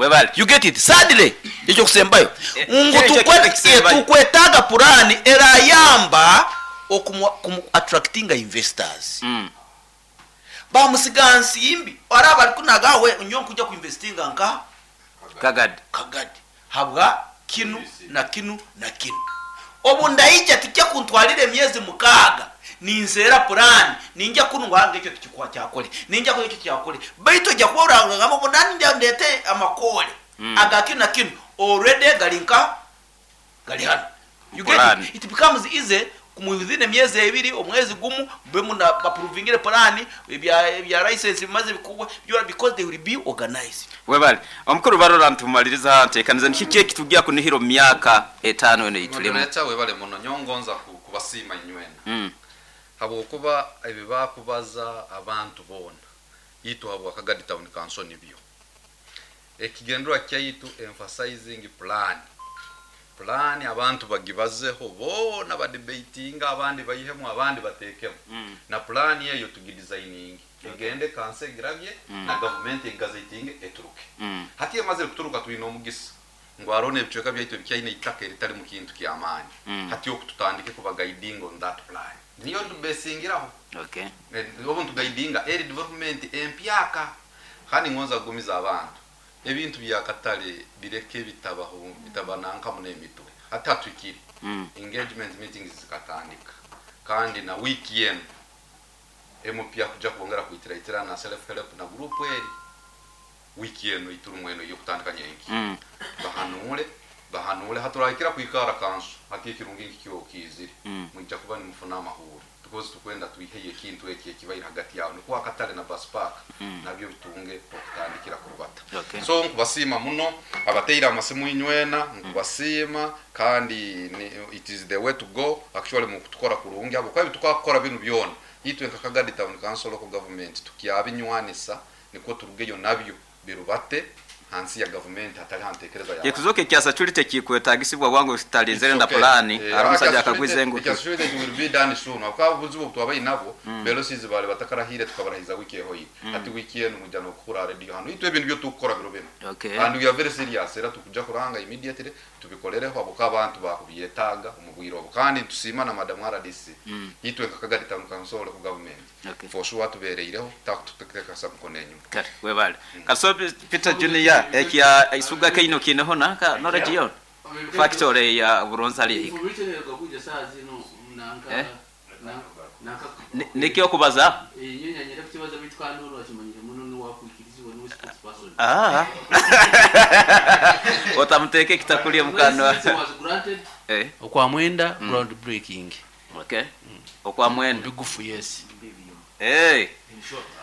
Webale. You get it? Sadly, ekyokusembayo ngu Ekyo ekintu ekisembayo. Tukwetaaga purani erayamba okumu attractinga investors. Bamusiga nsimbi araba ari kunaga we nyo nkujja kuinvestinga nka Kagadi. Kagadi habwa kinu na kinu na kinu. Obu ndaija tikya kuntwalira emyezi 6 ninseera purani ninja kunu ngu ekyo tikikwa kyakole ninja kuno ekyo kyakole, baitu ojja kuba orangamba ngu nani ndete amakole aga kinu na kinu already gali nka gali hano. You get Plan. it? It becomes easy within emyezi 2, omwezi gumu mbe muna approvingire plan ebya license bimaze bikugwa byora, because they will be organized. Webale. Omukuru barora ntumaliriza ntekaniza niki ekitugia kunihiro myaka 5 eno itulemu. Moderator, webale muno nyongonza kubasiima inywena. Habwokuba ebi bakubaza abantu boona itwe habwa Kagadi Town Council nibyo. Ekigendwa kyaitu emphasizing plan. Plan abantu bagibazeho boona badebatinga, abandi bayihemu, abandi batekemu. Na plan eyo tugidesigning. Egende kanse girabye na government egazetinge eturuke. Hati emaze kuturuka twine omugisa. Ngu arone ebicweka byaitu ebikyaine itaka eritali mu kintu ky'amaani. Hati okututandike kuba guiding on that plan. Niyo tubesingiraho. Obu ntuguidinga eri development empyaka. Kandi ngonza kugumiza abantu. Ebintu bya katale bireke bitabaho, bitabananka mu n'emitwe. Hati hatwikire. Engagement meetings zikatandika. Kandi na wiki yenu MP akuja kuongera kuitiraitira na self help na group eri. Wiki yenu ituru mweno yo kutandika nyenki. Bahanule, bahanule haturahikira kuikara kansu. Hati ekirungi nkikyo kizire. Mwijja kuba nimufuna amahuri. Because tukwenda tuiheye ekintu eki ekibaire hagati yawe. Nikuwa akatale na bus park. Nabyo bitunge okutandikira kurubata. So nkubasiima muno abateire amasimu inywena, nkubasiima kandi it is the way to go actually mu kutukora kurungi abo kwabi tukakora binu byona. Itwe nka Kagadi Town Council local government tukyabinywanisa niko turugeyo nabyo birubate hansi ya government hatali hantekereza ya Ekuzoke kyasa chuli tekikwetagisibwa wangu sitalizere It's na okay. plani, ari musajja akagwize ngu. Ekya security will be done soon. Akaba buzibu twabaye nabo, belo sizi bale batakarahire tukabarahiza wiki eho yi. Ati wiki eno mujja no kukura radio hano. Itwe ebintu byo tukora biro bino. And we are very serious. Era tukuja kuranga immediately tubikolereho abo abantu bakubyetaga umubwiro obo. Kandi tusima na Madam RDC. Itwe nka Kagadi Town Council ku government. For sure tubereireho takututekeka sabuko nenyu. Kare, webale. Kaso Peter Junior ekya isuga keino kineho naka knowledge yo. Factory ya Buronza ali hika. Information ekakuja saa zino nanka nanka Nikyo kubaza? Nyenya nyera kukibaza bitu kandi ono akimanyire muno ni wakwikirizibwa ni spokesperson. Otamuteke kitakulia mukano. License was granted. Okwa mwenda ground breaking. Okwa mwenda. Bigufu, yes.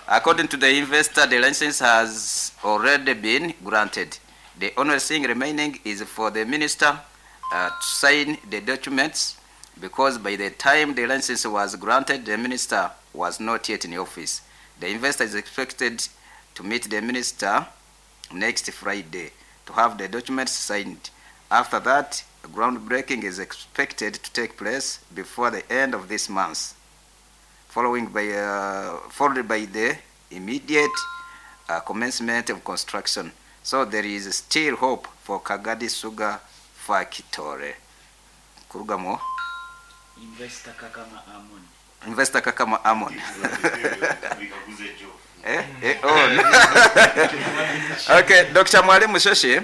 According to the investor, the license has already been granted. The only thing remaining is for the minister to sign the documents, because by the time the license was granted, the minister was not yet in office. The investor is expected to meet the minister next Friday to have the documents signed. After that, groundbreaking is expected to take place before the end of this month, followed by the immediate commencement of construction. So there is still hope for Kagadi Sugar Factory. Kurugamo. Investor Kakama Amon. Investor Kakama Amon. Oh. Okay, Dr. Mwalimu Sheshe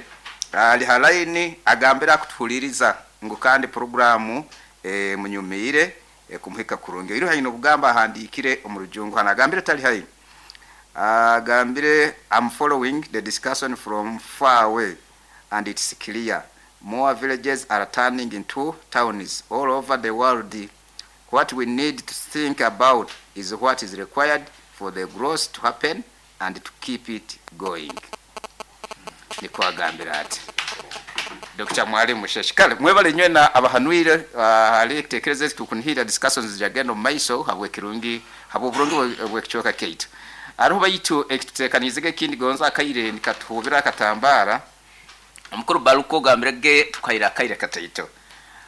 ali halaini agambira kutuhuliriza ngu kandi programu munyumire kumuhika kurungi. Iri haino bugamba ahandikire omurujungu hana agambire tali haino. Agambire I'm following the discussion from far away and it's clear more villages are turning into towns all over the world. What we need to think about is what is required for the growth to happen and to keep it going. Niko agambira ati Dr. Mwalimu Sheshe. Kale mwebale nywe na abahanwire ali tekereze tukunhira discussions jagendo maiso habwe kirungi habwe burungi bwe kichoka Kate. Aruba yitu ekitekanizege kindi gonza akaire nikatuhubira akatambara. Omukuru baluko gambirege tukaira akaire kataito.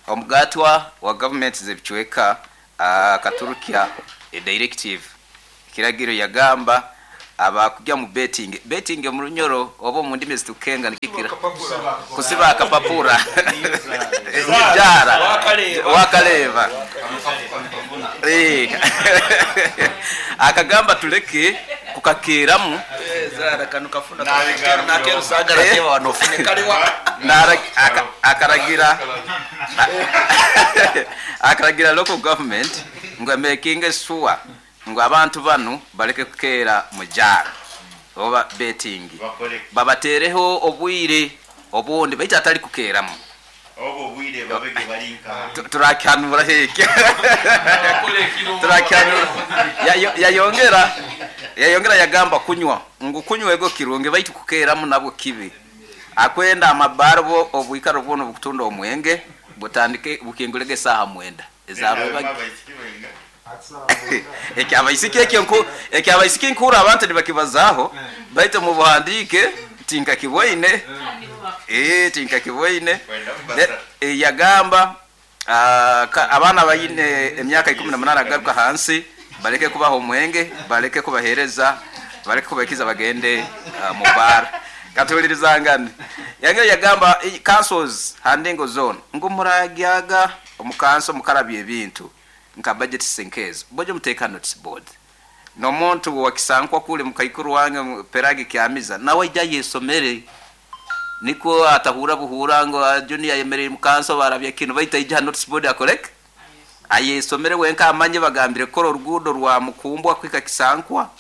Omugatwa wa government zebichweka akaturukia a directive kiragiro yagamba Abakujya mu betting, betting mu Runyoro oba mu ndimi zitukenga nikikira kusiba akapapura jara wakaleva. Akagamba tuleke kukakeramu akaragira local government ngo making sure ngo abantu banu baleke kukera mujara oba betting, babatereho obwire obundi baita atali kukeramu obo bwire babege barinka turakanura heke turakanura. Yayongera yagamba kunywa ngo kunywa ego kirunge baitu kukeramu nabwo kibi. Akwenda amabarbo obwikaro bwono bukutunda omwenge butandike bukingulege saha mwenda ezaruba ekyabaisiki nkura abantu nibakibazaho baita mu buhandike tinka kiboine tinka kiboine. Yagamba abana bayine emyaka 18 agaruka hansi baleke kubaho omwenge, baleke kubahereza, baleke kubakiza bagende mu bar. Katulirizangane yange yagamba councils handingo zone ngo muragyaga omukanso mukarabye ebintu nka budget sinkez bojo muteka notice board no muntu wakisankwa kule mukaikuru wange peragi kyamiza nawe ijya yesomere niko atahura buhura ngo junior yemereye mukanso barabye kino baita ijya notice board akorek ayesomere wenka amanye bagambire ko urugudo rwa mukumbwa kwika kisankwa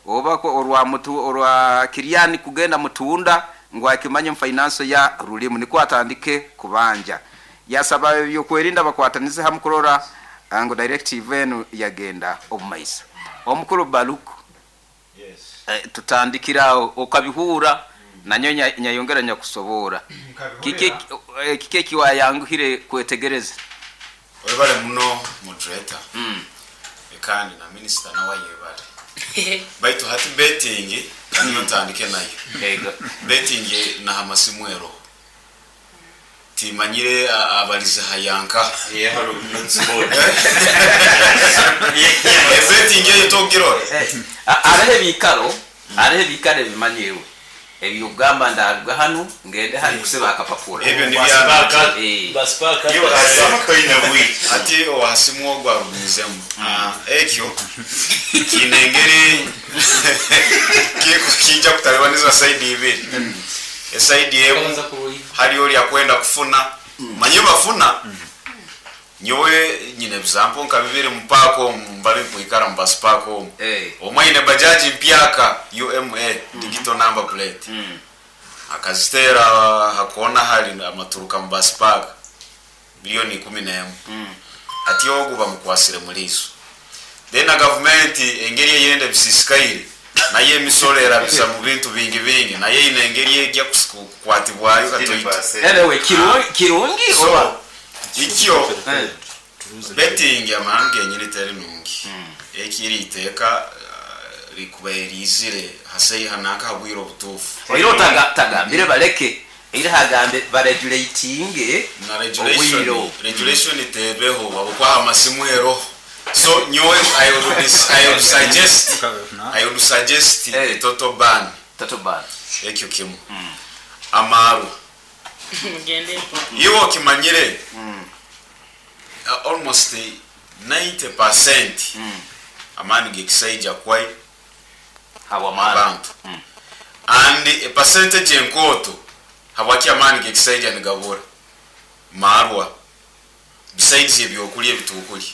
oba ko orwa mutu orwa Kiriani kugenda mutunda ngo akimanye finance ya rulimu niko atandike kubanja. Yasaba yo kwerinda bakwatanize hamukurora ngo directive enu yagenda obumaisa omukuru Baluku. Yes. Tutandikira okabihura nanyo nyayongera nyakusobora kike kiwayanguhire kwetegereza webale muno moderator kandi na minister nawe yebale baitu hati betting kandi ntandike nayo. Yego betting na hamasimwero timanyire abalize hayanka betting yo togiro arehe bikaro arehe bikare bimanyiwe ebyugamba ndaruga hano ngende hari kusiba akapapura ebyo ni byabaka basipaka ati ohasimwo gwa rubizemu ekyo kinengeri kijja kutalibaniza side ibiri eside emu hali oli akwenda kufuna manye bafuna nyowe nyine example nka bibiri mpako mbali kuikara mbasipako omwe bajaji mpyaka UMA digital number plate akazitera hakona hali amaturuka mbasipaka milioni 11 ati ogu bamukwasire muliso then na government engeri yende bisisikaire naye emisolera bisa mu bintu bingi bingi naye inengeri ejja kukwatibwayo katoito anyway kirungi oba ikyo betting amange nyine teri nungi ekiri iteka likubayirizire hasei hanaka habwiro butufu oiro tagambire baleke iri hagambe baregulating na regulation regulation itebeho babukwa amasimu ero. So nyowe I would suggest a total ban. Total ban. Ekyo kimu. Amaru. Iwo kimanyire almost 90% amani gekisaija kwai abantu. And a percentage enkoto habwaki amani gekisaija nigabura marwa besides ebyokulya ebitukulya.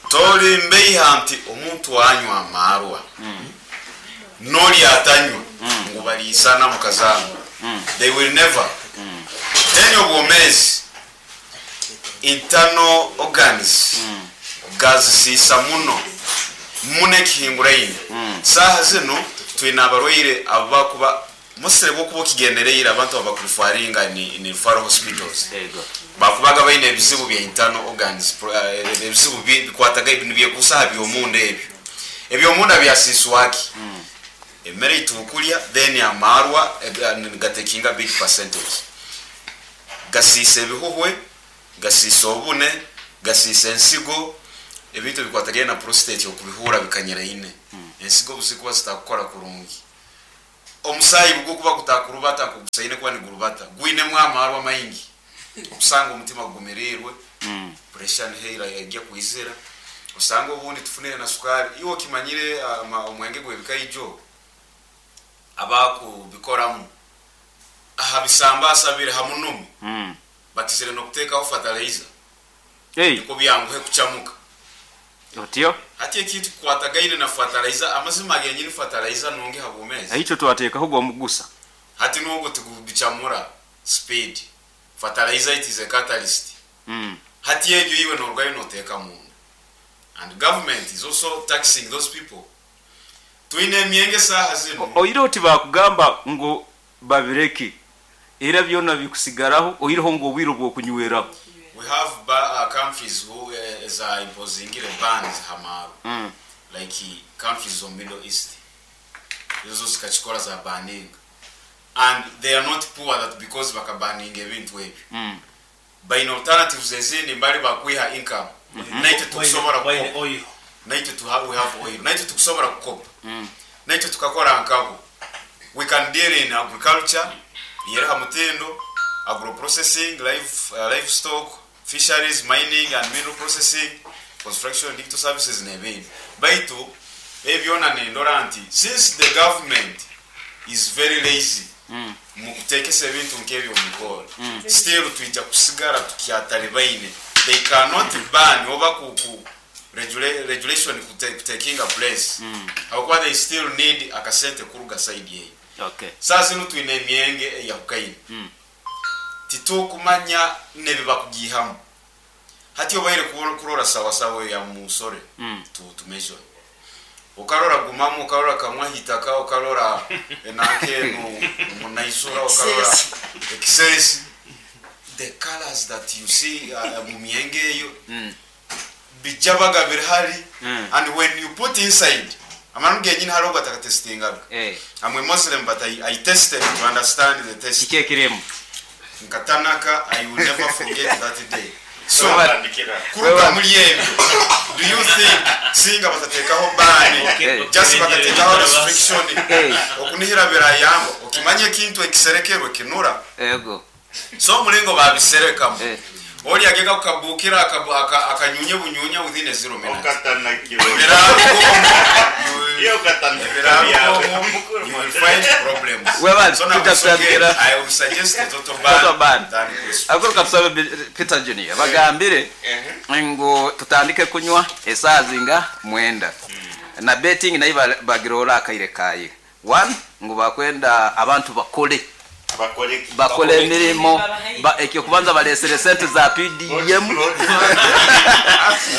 Tori mbeiha nti omuntu anywa amarwa noli atanywa ngo balisana mukazango. They will never. Then obwomezi internal organs gazisisa muno mune kihinguraine. Saha zino twina abarwaire abakuba musire bwo kigendereira abantu abakurufaringa ni referral hospitals. Bakubaga baine ebizibu bya internal organs ebizibu bikwataga ibintu byekusaha byomunda ebyo ebyomunda byasiswaki emere itukulya then amarwa gatekinga big percentage gasise ebihuhwe gasise obune gasise ensigo ebintu bikwatagana na prostate okubihura bikanyera ine. Ensigo obuzikuba zitakukora kurungi, omusaayi gukuba gutakurubata nkogusaine kuba nigurubata, gwinemu amarwa maingi, okusanga omutima gugumirirwe, pressure niheira ejya kwizira, osanga obundi tufunire na sukari. Iwe okimanyire, omwenge gw'ebikaijo abakubikoramu aha bisambasa biri hamunumu bakizire n'okuteekaho fertilizer niko byanguhe kucamuka. Otyo. Hati ekintu kikwatagaine na fertilizer, amazima genyini fertilizer nungi habwomezi. Aicho twateekaho gwomugusa. Hati n'ogwo tigubicamura speed. Fertilizer, it is a catalyst. Hati egyo iwe norugayo noteeka munda, and government is also taxing those people. Twine emyenge saaha zino. Oire oti bakugamba ngu babireke, era byona bikusigaraho, oireho ngu obwire obw'okunyweraho. We have countries who za imposingire bans hamaru, like countries of Middle East, ezo zikakikora, za banning, and they are not poor that because bakabaninga ebintu ebyo baine alternatives ezindi mbali bakwiha income. Naitwe tukusobora Baine kukopa. oil. Naitwe we have oil, naitwe tukusobora kukopa, naitwe tukakora nkabo. We can deal in agriculture yeriha mutindo, agroprocessing, livestock, fisheries, mining and mineral processing, construction, digital services n'ebindi. Baitu ebyona nindora nti since the government is very lazy mu kuteekesa ebintu nk'ebyo mumikoro, still twija kusigara tukyatalibaine. They cannot ban oba ku regulation kutakinga place, habwokuba they still need akasente kuruga side eyo. Saa zino twine emyenge eyahukaine, titukumanya nebi bakugihamu. Hati obaire kurora sawasawa ya musore, tu measure, ukarora gumamu, ukarora kamwa hitaka, ukarora enakenu munaisura, ukarora ekisesi, the colors that you see mu myenge eyo bijabaga birihari. And when you put inside, amanu genyini hariho gatakatestingaga. I'm a Muslim, but I tested to understand the test. Kiki ekirimu? Nkatanaka, I will never forget that day. So Batandikira. kuruga muri ebyo, do you think singa batateekaho ban, just bakateekaho restriction, okunihira birayamba? Okimanye ekintu ekiserekerwe kinura. So omulingo babiserekamu, oli agega kukabukira akanyunya bunyunya within a 0 minutes. Okatanakiwe. Iyo katanakira. You will find problems. Webale, So Peter now it's okay. Tutandikira. I will suggest a total ban. Total ban. Than question. Akuru katusabe Peter Junior bagambire ngu tutandike kunywa esaaha zinga 9, na betting nayo bagirora akaire kaye one, ngu bakwenda abantu bakole. Bakole. Bakole emirimo. Ekyo kubanza balesere sente za PDM,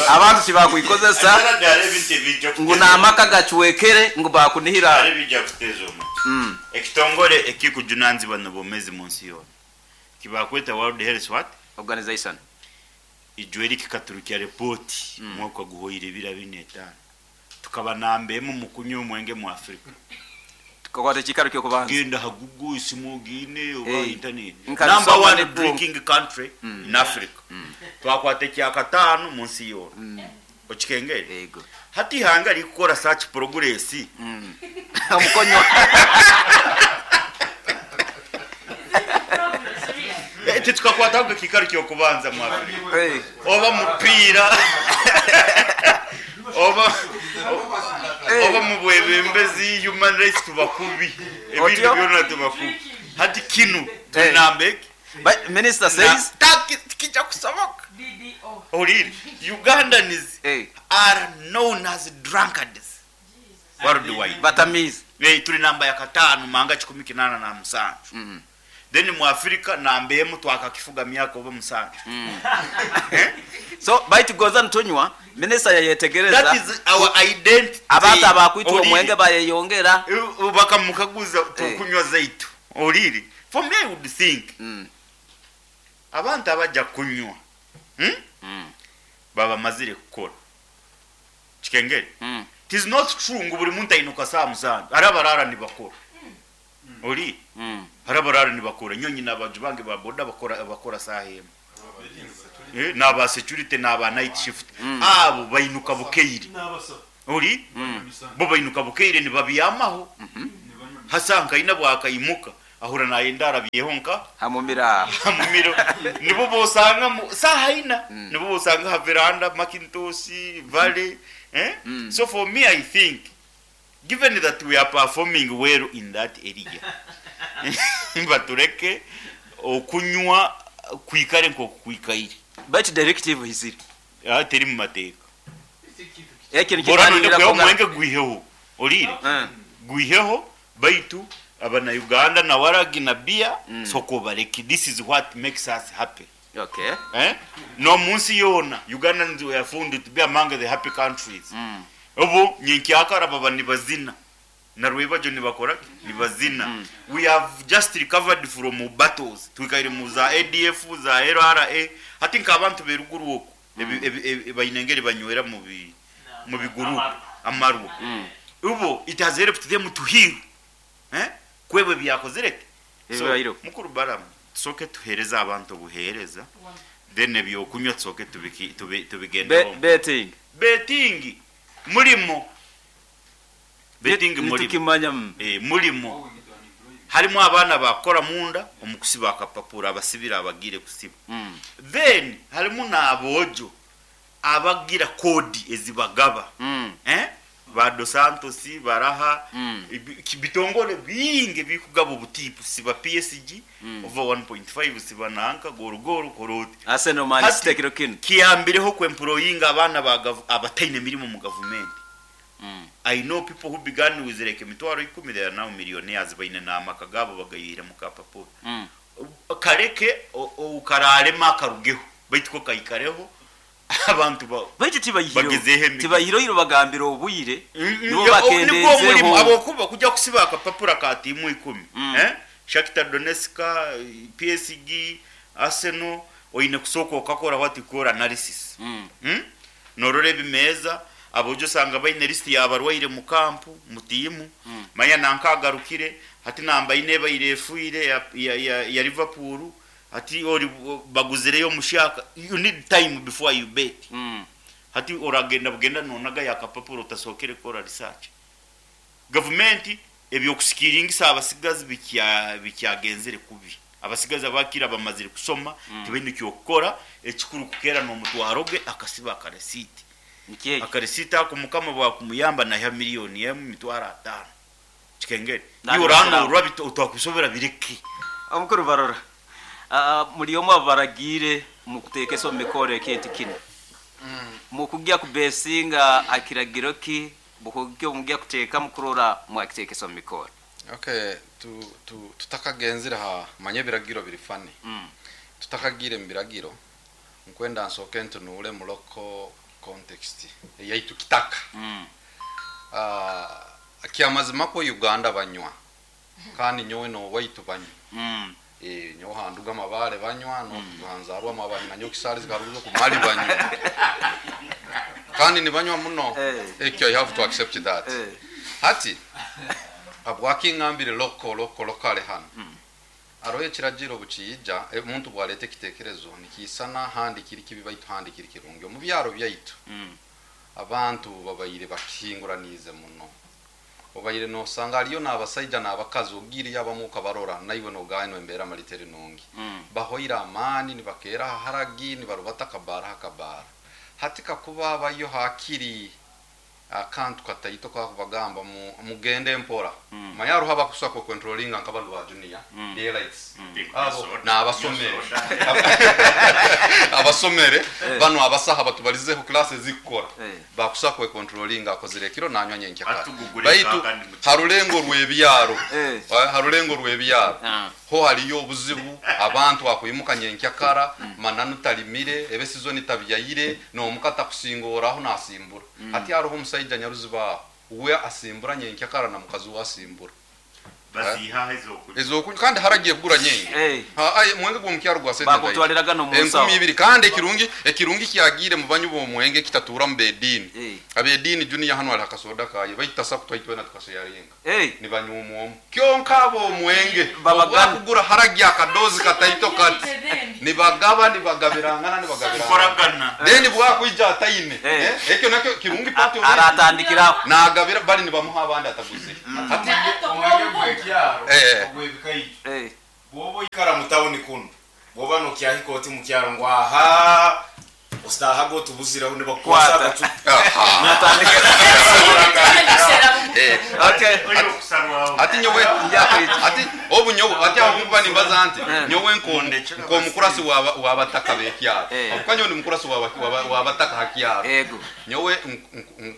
abantu tibakwikozesa. Hari ebintu ebijja Ngu n'amaka gacwekere, ngu bakunihira. Hari bijja kuteeza omuntu. Ekitongole ekikujunanizibwa n'obwomezi mu nsi yoona kibakweta World Health what? Organization. Ijweri kikaturukya repoti mwaka guhoire 2005, tukaba namba emu mu kunywa omwenge mu Afrika. Tukakwata ekikaro kyokubanza. Genda ha Google, isimu ogine oba internet. Nka Number bisoma one ne boom. drinking country in Africa, twakwata ekyakataano mu nsi yoona. Okikengere? Yego. Hati ihanga rikukora such progress Omukonywa. Titukakwataho ekikaro kyokubanza mu Afrika, oba mupiira, oba mu bwebembezi, human rights, tubakubi ebintu Otyo? byona tubakubi. Hati kinu tunambeki. But minister says Kijja kusoboka. Oliri Ugandans are known as drunkards worldwide. Batamizi. Tuli namba ya katano manga 187. Then mu Afrika namba emu, twakakifuga myaka oba 7. So baitu goza nitunywa, minisita yayetegereza. That is our identity. Abantu abakwitwa Oliri. omwenge bayeyongera. Bakamukaguza tukunywa zaitu. Oliri, for me, I would think abantu abajja kunywa, Baba mazire kukora. Kikengere, it is not true ngu buli muntu ainuka saa 7. Hari abarara nibakora. Oli hari abarara nibakora. Nyonyi n'abaju bange ba boda bakora saa emu. N'aba security n'aba night shift, abo bainuka bukeire. Oli Bo bainuka bukeire nibabyamaho. Hasa nkaina bwakaimuka ahura nayenda arabyeho nka hamumira hamumiro. Nibo bosanga saha ina nibo bosanga ha veranda Macintosh Valley, eh? So for me, I think given that we are performing well in that area, batureke okunywa kwikare nko kwikaire. But directive hisiri teri mu mateeka. Ekyo Bora nonde kweho omwenge gwiheho olire gwiheho, baitu abana Uganda na waragi na bia soko bareki. This is what makes us happy. Eh? No munsi yona Ugandans were found to be among the happy countries. Obu nyenkyakara baba nibazina na rwebajo nibakora nibazina. We have just recovered from battles, twikaire mu za ADF za LRA. Hati nkabantu beruguru oko bainengeri banywera mu biguru amarwa. Ubo it has helped them to heal, eh? Kwebwe byakozereke. So mukuru Balaam, tusoke tuhereza abantu obuhereza, then ebyokunywa tusoke tubigendeho. Betting. Betting mulimo. Betting mulimo. Nitukimanya. Mulimo harimo abana bakora munda omukusiba akapapura abasibira abagire kusiba. Then harimo n'abojo abagira kodi ezibagaba. Eh? Ba Dos Santos baraha bitongole bingi bikugaba obutipu siba PSG over 1.5 siba nanka gorugoro koroti Arsenal Man City kiro kino kiyambireho kwemployinga abana abataine mirimo mu government. I know people who began with like emitwaro 10, they are now millionaires, baine na amakagabo bagayira mu kapapuro. Kareke ukararema akarugeho baitu ko kayikareho abantu baitu tibayihiro tibayihiro bagambira obuyire nibo bakendezeho abo kuba kujya kusiba akapapura ka timu 10. Eh, Shakhtar Donetsk, PSG, Arsenal oine kusoko okakora what you call analysis. Norore bimeza abojo sanga baine list yabarwaire mu kampu mutimu. Manya nankagarukire hati namba ine bayirefuire ya Liverpool hati ori baguzireyo mushaka. You need time before you bet. Hati oragenda bugenda nonaga yakapapuro utasokere kora research. Government ebyokusikiringisa abasigazi bikyagenzere kubi. Abasigazi abakira bamazire kusoma tibindi kyokora ekikuru kukera no mutwaroge akasiba akaresiti. Akaresiti ako mukama bwa kumuyamba na ya miliyoni ya mitwaro 5. Kikengere. Yorano urabito utwakusobera bireke. Omukuru barora. Muri omu abaragire mukutekeso mikore kintu kino. Mukujya kubesinga akiragiro ki bukujya mujya kuteka mukurora mwakitekeso mikore. Okay, tutakagenzira ha manye biragiro biri fani. Tutakagire mbiragiro nkwenda nsoke ntunule mu local context yaitu kitaka. Kiamazima ko Uganda banywa kandi nyowe no waitu banywa. Nyo handuga amabare banywa no hanzarwa amabare na nyokisari zikaruzo kumali banywa kandi ni banywa muno. Ekyo I have to accept that. Hati abwakingambire lokale hano aroye kiragiro buciyija omuntu bwalete kitekerezo nikisana handi kiri kibi baitu handi kiri kirungi mu byaro byaitu. Abantu babayire bakinguranize muno obayire no sanga ariyo nabasaija nabakazi ogiri yabamuka barora naiwe no gano embera malitere nungi. Bahoira amani nibakera haragi nibarubata kabara hakabara hatika kuba bayo hakiri akantu kataito kwa kubagamba mugende mpora. Mayaru haba kusako controlling nkabantu ba junior daylights abo na abasomere abasomere bano abasaha batubalizeho classes zikora bakusako controlling akozire kiro nanywa nyenkya baitu harulengo rwebyaro harulengo rwebyaro ho haliyo obuzibu abantu akwimuka nyenkya kara mananu talimire ebe season tabyayire no mukata kusingoraho nasimbura. Hati hariho omusajja nyaruziba we asimbura nyenkya kara na mukazi wasimbura baziha ezokunywa kandi haragiye kugura nyenye. Ha mwenge gwo gwa sente bakutwaliraga no musawo enkumi ibiri kandi ekirungi kyagire mu banyu bo mwenge kitatura mu bedini. Abedini junior hano ari hakasoda kaye bayitasa kutwaitwe na tukasharinga ni banyu omwo kyonka abo mwenge bakugura haragiye akadozi kataito kati. Nibagaba, nibagabirangana, nibagabirangana. Then bwakwija ataine. Ekyo nakyo kirungi party of Aratandikiraho. Nagabira bali nibamuha abandi ataguzire. Ati bwoba ikara mu town kuno, bwoba nokyahika oti mu kyaro ngo aha ositahaga otubuziraho nibakukwasa agacupa. Okay. Ati nyowe ati obu nyowe ati aho kuba nimbaza nti nyowe nkonde nko mukurasi wabataka bekyaro abuka nyowe ndi mukurasi wabataka hakyaro. Ego. Nyowe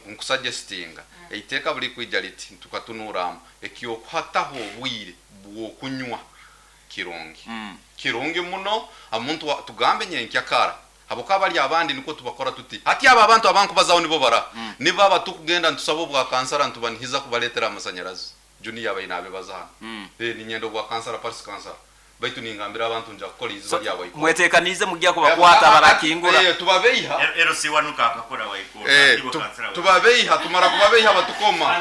nkusuggestinga eiteka buli kwijja liti tukatunuramu ekyokuhataho obwire bwokunywa kirungi. Kirungi muno omuntu tugambe nyenkyakara haboka bali abandi niko tubakora tuti hati aba abantu abankubazaho nibo bara niba batukugenda ntusaba obwa kansara ntubanihiza kubaletera amasanyarazi junior abayina abebaza hano. Ni nyendo bwa kansara parisi kansara baitu ningambira abantu nja kukora iziba lyabo iko mwetekanize mujya kubakwata barakingura. Tubabeiha ero si wanuka akakora waikora tubabeiha tumara kubabeiha batukoma.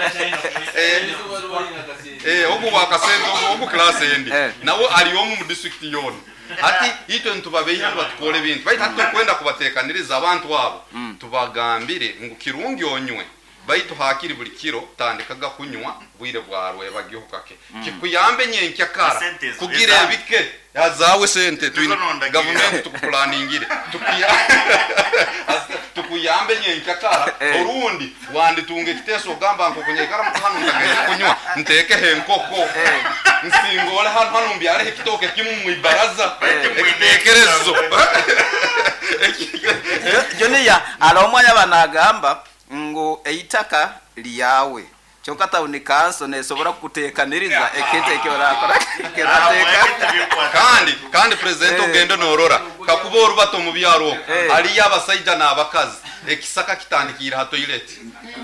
Ogu wakasente ogu class endi nawo ali omu mu district yona ati itwe ntubabeiha batukole bintu baitu hatukwenda kubatekaniriza abantu abo tubagambire ngu kirungi onywe baitu hakiri buli kiro tandikaga kunywa bwire bwarwe bagiho kake kikuyambe nyenkyakara kugira ebike yazawe sente twine government tukuplaningire tukuyambe nyenkyakara orundi wanditunge kiteso ogamba nko kunyekara hano ntagenda kunywa ntekehe enkoko nsingole hano hano mbyare ekitoke kimu mu ibaraza ekitekerezo. Joniya alomwanya banagamba ngo eitaka liyawe kyonka town council nesobora kutekaniriza ekete ekyo rakora kerateka. Kandi president ogende norora kakuba orubato mu byaro ali yabasajja n'abakazi ekisaka kitandikira ha toilet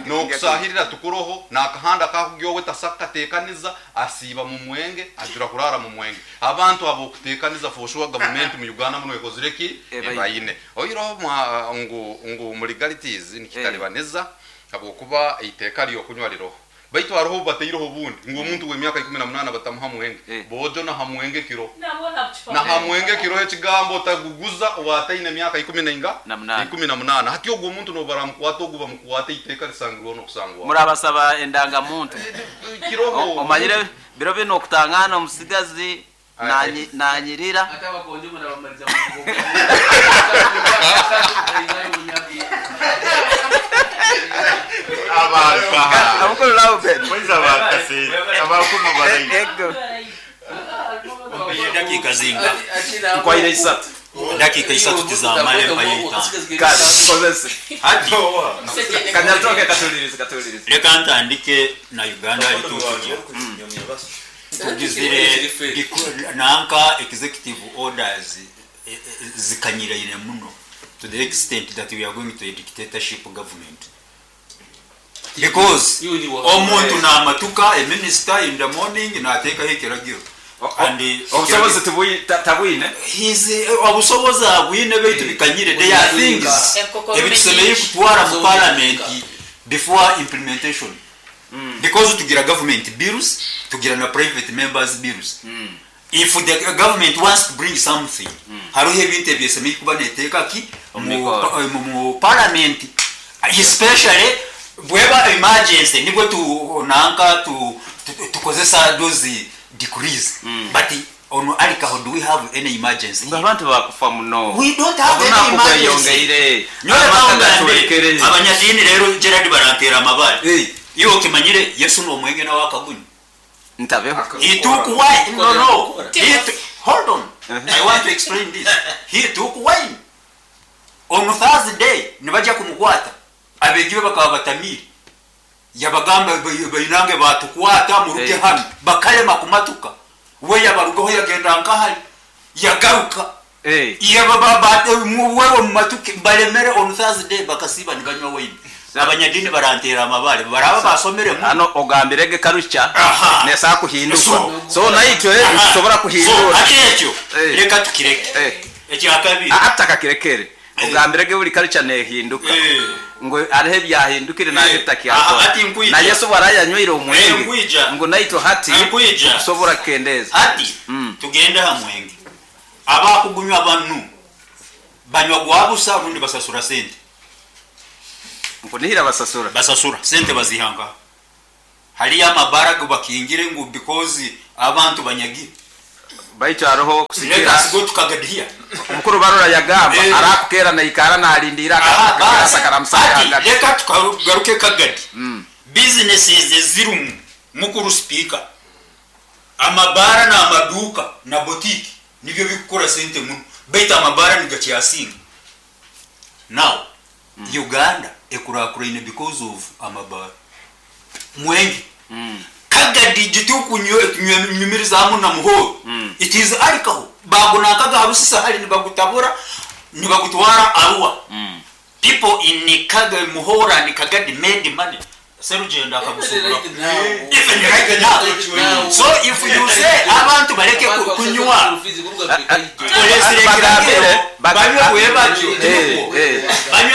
nokusahirira tukuroho nakahanda kakugyowe tasaka tekaniza asiba mu mwenge ajura kurara mu mwenge abantu abo kutekaniza for sure government mu Uganda muno ekozireki ebayine oyiro ngu mu legalities nikitalibaneza abokuba iteka lyo kunywa liroho baitu hariho bateiroho bundi ngo omuntu w'emyaka 18 batamuha mwenge bojo na hamwenge kiro na hamwenge kiro ekigambo taguguza wataine emyaka 18 hati ogwo omuntu nobaramukwata ogu bamukwata iteka lisangirwa nokusangwa murabasaba endanga muntu kiroho omanyire biro bino okutangana omusigazi nanyirira Dakika zinga. Nkwaire isatu. Dakika isatu tizamale mpayita. Hadi. Kanyatoke katulirize katulirize. Reka ntandike na Uganda itutuja. Tugizire nanka executive orders zikanyiraine muno to the extent that we are going to a dictatorship government. Because omuntu namatuka a minister in the morning natekaho ekiragiro and obusobozi tabwine his obusobozi abwine baitu bikanyire. There are things ebitusemeye kutwara mu parliament before implementation. Because tugira government bills, tugira na private members bills. If the government wants to bring something, hariho ebintu ebyesemeye kuba neteeka ki mu parliament, especially bweba emergency nibwo tu nanka tu tukozesa those decrees. But on alcohol, do we have any emergency? Abantu bakufa muno. We don't have any emergency. Abanyadini rero Gerard barantera amabare. Iyo okimanyire Yesu no mwenge na wakagunyu. Ntabeho. He took wine. No no. Hold on. I want to explain this. He took wine. On Thursday nibaja kumukwata. Abegiwe bakaba batamiri yabagamba bayinange batukwata muruke hano bakalema kumatuka we yabarugaho yagenda nkahali yagaruka wewe mumatuke balemere on Thursday bakasiba nibanywa wine. Abanyadini barantera amabale baraba basomere hano ogambirege karucha nesa kuhinduka so naitwe tusobora kuhindura ati ekyo reka tukireke ekyakabiri atakakirekere ogambirege buli karucha nehinduka ngo arihe byahindukire na bitakyakora na Yesu barayanywire omwenge ngo naito hati kusobora kendeza hati tugende hamwenge Abakugunywa banu banywa gwabusa rundi basasura sente. Nkunihira basasura. Basasura sente bazihanga. Haliyo amabara gubakingire ngu because abantu banyagire. Baitu aroho kusikira. Let us go to Kagadi. Omukuru Barora yagamba arakukera naikara nalindira akaramusanga. Leka tugaruke Kagadi. Businesses ezirumu mukuru speaker. Amabara na amaduka na boutique nibyo bikukora sente muno. Baitu amabara nigakyasinga. Now Uganda ekurakurine because of amabara. Mwengi. Kagadi gitukunyumirizamu na muhoro. It is alcohol. Bagunakaga harusisa hali nibagutabura nibagutwara Arua. People in Kagadi Muhora and Kagadi made money. Serugenda akagusubura. Even right now. So if you say abantu bareke kunywa banywe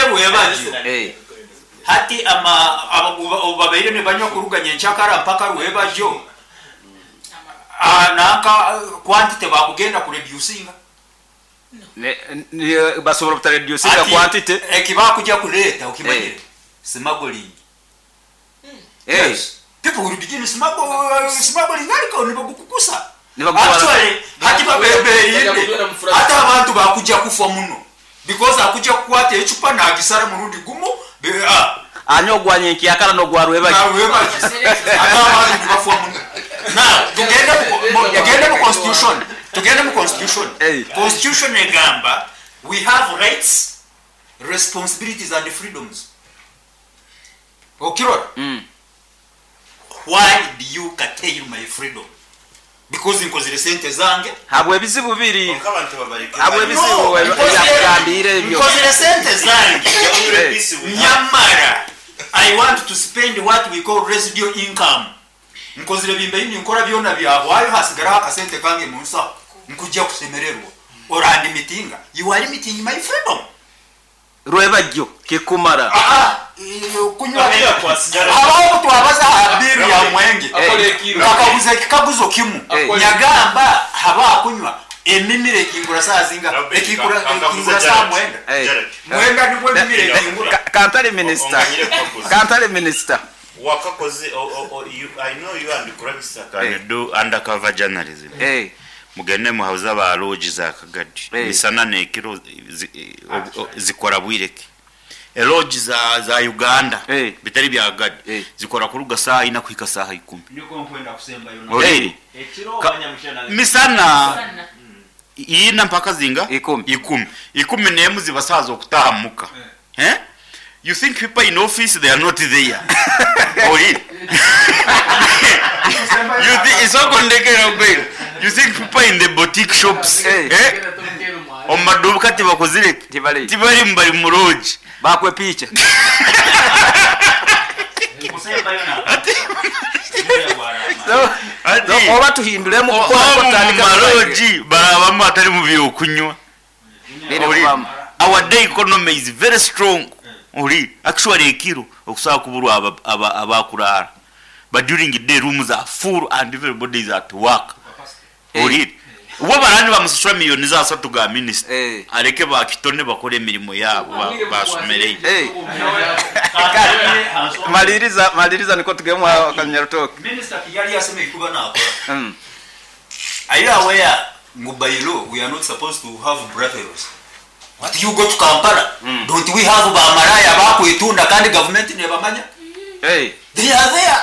bwebajyo. Hati ama ababaire ne banywa kuruganya enchakara mpaka rwebajo. Naka quantity bakugenda ku reducinga. Ne basobola kutareducinga quantity ekiba kujja kuleta ukimanyire. Smuggling. Yes. People will begin smuggling alcohol nibagukukusa. Actually hati babebe hata abantu bakujja kufa muno. Because akujja kukwata echupa na agisara murundi gumu. Anyo gwanye nkiyakala no gwarwebaji. Now tugende mu constitution. Tugende mu constitution. Constitution egamba we have rights, responsibilities and freedoms. Okirora? Why do you curtail my freedom? Because nkozire sente zange. Habwe bizibu biri. Habwe bizibu yakugambire ebyo. Nkozire sente zange. Nyamara I want to spend what we call residual income. Nkozire bimbe ni nkora byona byabwayo hasigara akasente kange mu nsaho. Nkujja kusemererwa. Orandi mitinga. You are limiting my freedom. Rwebajyo kikumara. Kunywa abaho twabaza abiru ya mwenge. Bakabuze kikaguzo kimu. Nyagamba haba kunywa emimire ekingura saa zinga ekingura ekingura saa mwenda. Mwenda nibwo emimire ekingura. Kantale minister. Kantale minister. Wakakoze I know you and Kurabisa can do undercover journalism. Mugende muhauza ba lodge za Kagadi. Misana nekiro zikora bwireke. Lodge za Uganda bitari bya Kagadi zikora kuruga saa ina kuhika saa 10. Niko nkwenda kusemba yo. Misana ina mpaka zinga 10. 10 nemu zibasaza okutahamuka. You think people in office they are not there. Ori. You think it's all kondekera. You think people in the boutique shops omaduka tibakozire tibali mbali muroji bakwe picha. So oba tuhindulemu kutandika maroji barabamu atari mu byokunywa. Our day economy is very strong. Ori actually ekiro okusaba kuburwa abakurara. But during the day rooms are full and everybody is at work. Ori ubo barani bamusura miliyoni za 3 ga minister areke bakitone bakore emirimo yabo basumereye. Maliriza niko tugemwa kanyarutoke. Minister Kigali yaseme kuba nakora. Are you aware ngubayilo we are not supposed to have brothels? What you go to Kampala? Don't we have bamaraya bakwitunda kandi government nebamanya? They are there.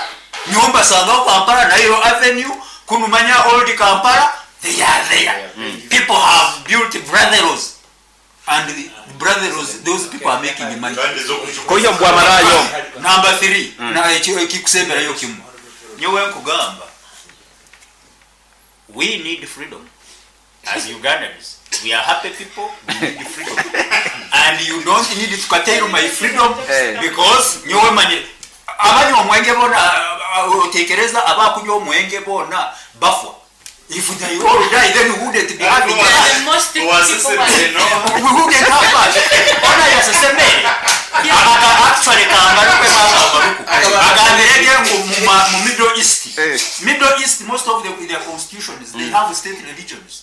Nyumba sanga Kampala Nairo Avenue kunumanya old Kampala. They are there. People have built brothels and the brothels those people are making money. Koyo mbwa marayo. Number 3 na ekikusembera yo kimu. Nyowe nkugamba we need freedom as Ugandans. We are happy people, we need freedom. And you don't need to curtail my freedom because nyowe manye abanywa omwenge bona otekereza abakunywa omwenge bona bafwa. If they all die, then we wouldn't be having us. We wouldn't have us. Ona yaseseme. Actually kambaruke kambaruku. Agambirege mu Middle East. Middle East, most of their constitutions, they have state religions.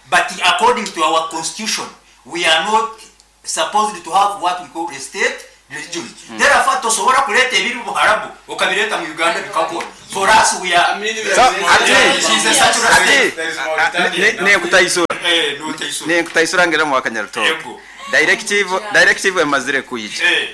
But according to our constitution, we are not supposed to have what we call a state religion. Therefore, tosobora kuleta ebiri Buharabu okabireta mu Uganda bikakora. For us, we are So, ati- She's a secular ati- state. Nekutaisura. Eh, nutaisura. Nekutaisura ngera mu Wakanyarutoke. Yego. Directive emazire kuyija. Eh.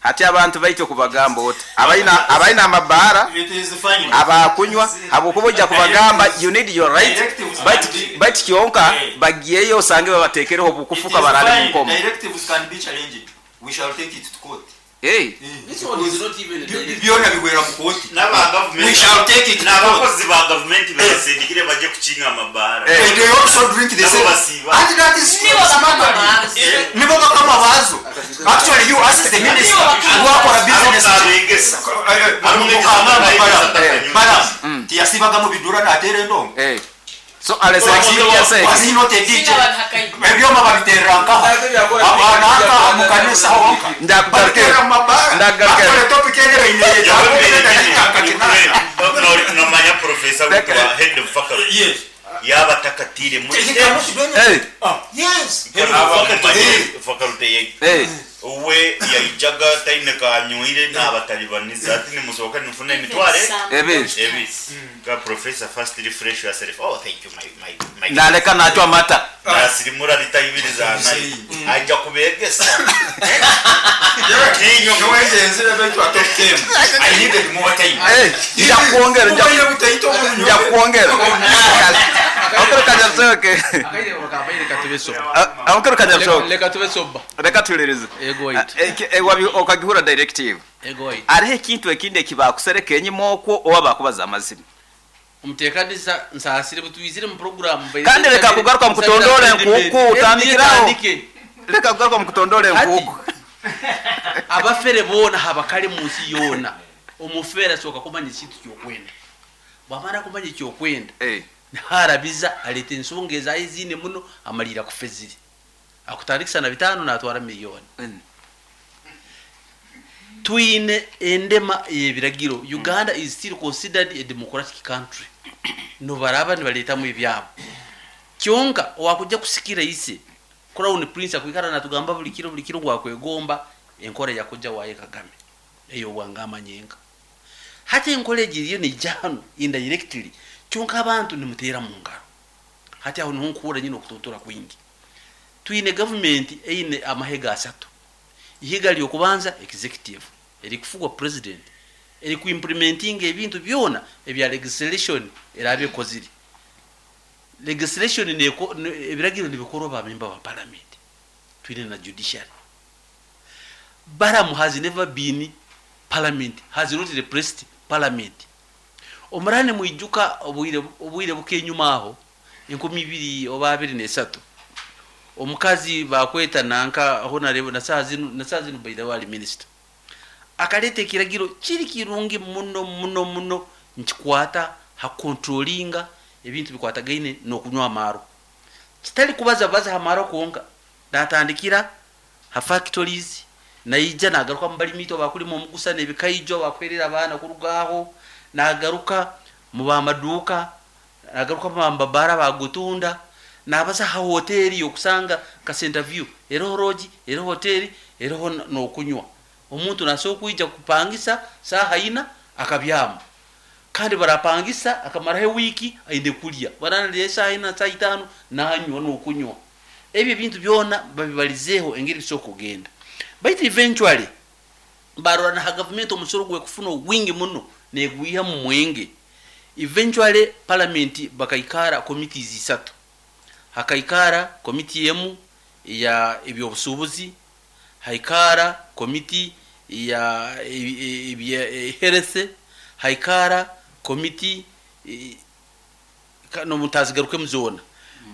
Hati abantu baitwe kubagamba oti abaina amabara It is fine. abakunywa habwokuba ojja kubagamba you need your right, Directives can be- but kyonka Eh. bagiyeyo osange babatekereho It obukufuka is barale fine. mu nkomo. Directives can be challenged. We shall take it to court. Eh. This one is not even a directive. Byona bigwera mu kooti. N'aba gavumenti- We shall take it to court. N'abakozi ba gavumenti babasindikire bajye kukinga amabara. Eh. They also drink the Nabo same. basiiba. And that is Nibo bakama baazo. Nibo bakama baazo. Actually, you ask the minister wakora business. Abegesa. Madam, tiyasibagamu bidura n'ateera endongo. Eh. So alesere Was he not a DJ? Ebyoma babiteera nkaha. Abanankaha mu kanisa honka. Babiteera mu mabara. Actually, topic ene Nomanya professor witwa head of faculty. Yes. Yaba takatire muri He cannot do anything. Yes. Head of faculty faculty ye. Eh. Uwe yaijaga taine kanywire n'abatalibaniza ati nimusohoka nimufune emitware Ebiri. Ebiri. Ka professor first refresh yourself. Oh, thank you, my Naleka nachwa amata. Nasirimura lita ibiri za nayo. Ajja kubegesa. I needed more time. Eh, nja kuongera nja kuongera. Amakuru Kanyarutoke. Amakuru Kanyarutoke. Leka tube soba. Reka tulirize. Ego waitu. Okagihura directive. Ego waitu. Hariho ekintu ekindi ekibakusereka enyima okwo oba bakubaza amazima. Omuteekaniza nsaasire butwizire mu program. Kandi reka kugaruka mu kutondora enkuuku utandikiraho. Reka kugaruka mu kutondora enkuuku. Abafere boona habakale mu nsi yoona. Omufere asooka kumanya ekintu kyokwenda. Bwamara kumanya ekyokwenda, harabiza aleeta ensonga ezaye ziine muno amalira kufezire. Akutandikisa na 5 natwara miliyoni. Twine endema y'ebiragiro. Uganda is still considered a democratic country. Nobaraba nibaleetamu ebyabo. Kyonka wakujja kusikira ise Crown Prince akwikara natugamba buli kiro buli kiro gwakwegomba enkola yakujja waye Kagame. Eyo bwangama nyenga. Hati enkola egiriyo nejja hano indirectly kyonka abantu nimuteera mu ngalo. Hati aho niho nkuhura nyine okutontora kwingi. Twine government eine amahega asatu. Ihiga lyokubanza executive erikufugwa president erikuimplementing ebintu byona ebya legislation erabekozire. Legislation neko ebiragiro nibikorwa ba member ba parliament. Twine na judiciary. Baramu has never been parliament, has not repressed parliament. Omurane mwijuka obwire bukenyuma aho 2023 oba 23. Omukazi bakweta nanka honorable na saa zino by the way minister. Akalete kiragiro kiri kirungi muno muno muno nkikwata ha controllinga ebintu bikwatagaine nokunywa amaro. Kitali kubaza baza hamaro konka natandikira ha factories naija nagaruka mu balimito bakulimo omugusa nebikaijo bakwerera abaana kurugaho nagaruka mu bamaduka nagaruka mu bambabara bagutunda nabaza ha hoteli yokusanga ka center view ero roji ero hoteli ero nokunywa omuntu naso kuija kupangisa saha ina akabyama kandi barapangisa akamara wiki ainde kulya baranaliye saha ina saa 5 nanywa nokunywa ebyo bintu byona babibalizeho engeri soko kugenda. But eventually barora na government omusoro gwe kufuna wingi muno negwiha mu mwenge. Eventually parliament bakaikara committees isatu. Hakaikara committee yemu ya ebyobusubuzi, haikara committee ya health, haikara committee no mutazigaruke muzona.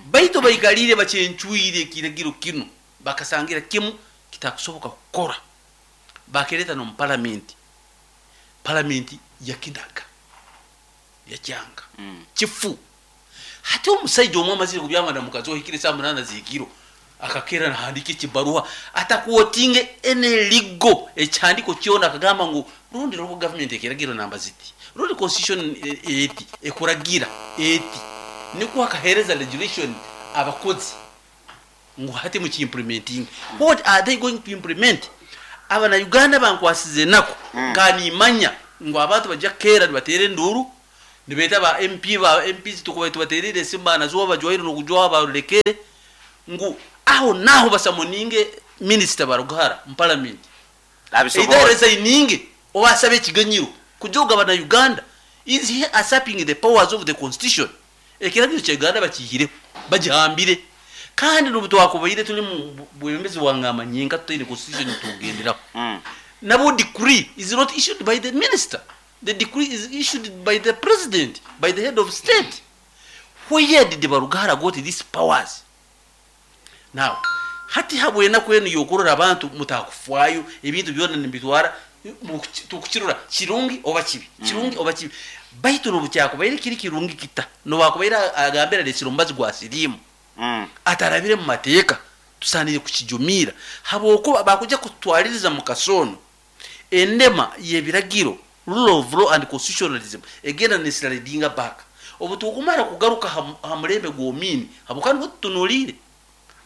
Baito baikalire bachenchuire kiragiro kino bakasangira kimu kitakusoboka kukora. Bakereta no parliament. Parliament yakinaga yakyanga. Kifu. Hati omusajja omwe amazire kubyamana mukazi ohikire saa 8 zikiro akakera nahandika ekibaruha atakuotinge ene ligo ekyandiko kyona akagamba ngu rundi local government ekiragiro namba ziti rundi constitution eti ekuragira eti niko akahereza legislation Abakozi ngu hati mukiimplementing, what are they going to implement? Abana Uganda bankwasize enaku. Nkanimanya ngu abantu bajja kukeera nibateera enduuru nibeeta ba MP, ba MPs tukuba tubateerere esimu banazuwa bajwaire n'okujwaho barulekere ngu aho naho basummoninge Minisita Barugahara mu parliament, either resigninge oba asabe ekiganyiro kujoga bana Uganda. Is he usurping the powers of the constitution? Ekiragiro kya Uganda bakihireho, bagihambire, kandi n'obu twakubaire turi mu bwebembezi bwa ngamba nyenka tutaine constitution tugenderaho. Nabo decree is not issued by the minister, the decree is issued by the president, by the head of state. Where did Barugahara got these powers? Now hati habwenaku enu yokurora abantu mutakufwayo, ebintu byona nibitwara tukukirora kirungi oba kibi, kirungi oba kibi, baitu nobukyakubaire kiri kirungi kita nobakubaire agambira lesiro mbazi gwa sirimu atarabire mu mateeka, tusanire kukijumira habwokuba bakuja kutwaliriza mu kasono endema y'ebiragiro, rule of law and constitutionalism egenda neslidinga back. Obu tukumara kugaruka ha mulembe gw'omini habwokuba niho tutunuliire